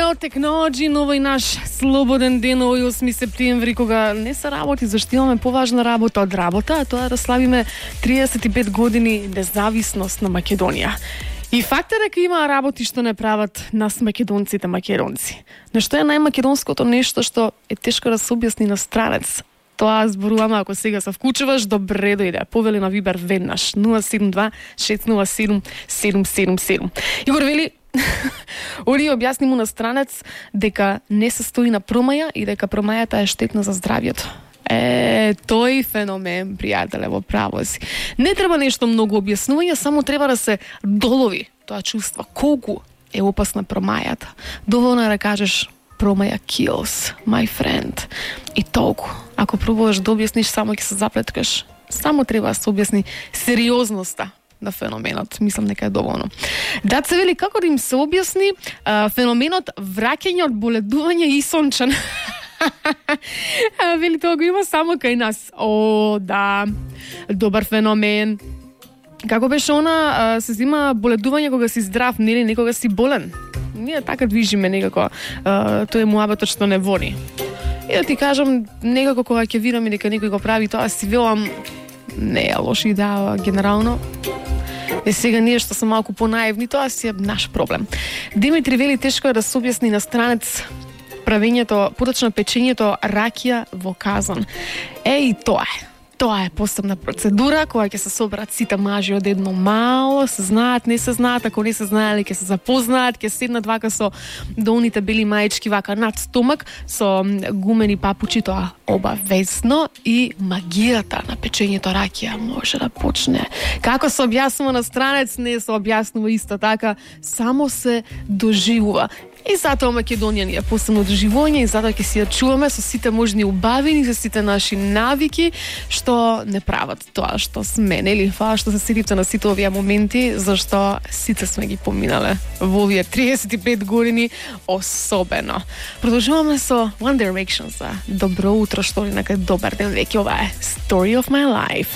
World Technology, но овој наш слободен ден, овој 8 септември, кога не се работи, зашто имаме поважна работа од работа, а тоа е да славиме 35 години независност на Македонија. И факт е дека има работи што не прават нас македонците македонци. Нешто е најмакедонското нешто што е тешко да се објасни на странец. Тоа зборуваме, ако сега се вклучуваш, добре дојде. Повели на Вибер веднаш 072 607 777. Игор вели Оли објасни му на странец дека не се стои на промаја и дека промајата е штетна за здравјето. Тој феномен, пријателе, во право си. Не треба нешто многу објаснување, само треба да се долови тоа чувство. Колку е опасна промајата. Доволно е да кажеш промаја kills, my friend. И толку. Ако пробуваш да објасниш, само ќе се заплеткаш. Само треба да се објасни сериозноста на феноменот. Мислам дека е доволно. Даце вели како да им се објасни феноменот враќање од боледување и сончен. Вели тоа го има само кај нас. О, да. Добар феномен. Како беше она, се зима боледување кога си здрав, нели некога си болен. Ние така движиме некако. Тој е муабетот што не води. И да ти кажам, некако кога ќе видам и дека некој го прави тоа, си велам не е лоша идеја генерално. И сега ние што се малку понаивни, тоа си е наш проблем. Димитри вели тешко е да се објасни на странец правењето, поточно печењето ракија во казан. И тоа е. Тоа е посебна процедура која ќе се соберат сите мажи од едно мало, се знаат, не се знаат, ако не се знаеле ќе се запознаат, ќе седнат вака со долните бели маечки вака над стомак, со гумени папучи, тоа обавезно, и магијата на печењето ракија може да почне. Како се објаснува на странец, не се објаснува исто така, само се доживува. И затоа Македонија ни е посебно доживување, и затоа ќе си ја чуваме со сите можни убавини, со сите наши навики, што не прават тоа што сме, нели? Фала што се сетивте на сите овие моменти, зашто сите сме ги поминале во овие 35 години особено. Продолжуваме со One Direction за добро утро, што ли, нека добар ден веќе, ова е Story of My Life.